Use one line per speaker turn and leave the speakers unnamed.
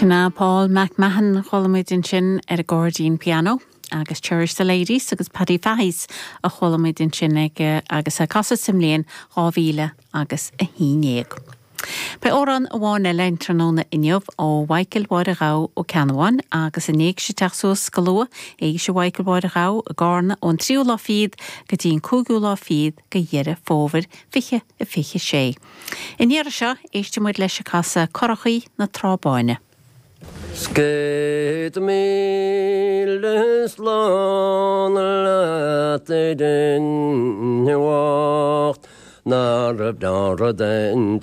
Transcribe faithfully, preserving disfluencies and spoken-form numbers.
Sin é Paul McMahon chuala muid ansin ar an gcairdín pianó agus Cherish the Ladies agus Paddy Fahy's a chuala muid ansin ag agus a casadh sa mbliain dhá mhíle agus a haon déag. Beidh amhrán amháin eile an tráthnóna inniu ó Mhichael Mháire Ghabh Ó Ceannabháin agus in éigse teach suas go luath éigse Mhichael Mháire Ghabh i gCarna ón tríú lá fichead go dtí an cúigiú lá fichead de Dheireadh Fómhair fiche a fiche sé. In iarra seo éistfidh muid leis ag casadh Curachaí na Trá Báine.
Céad míle slán leat a dhuine bhoicht ná raibh deora den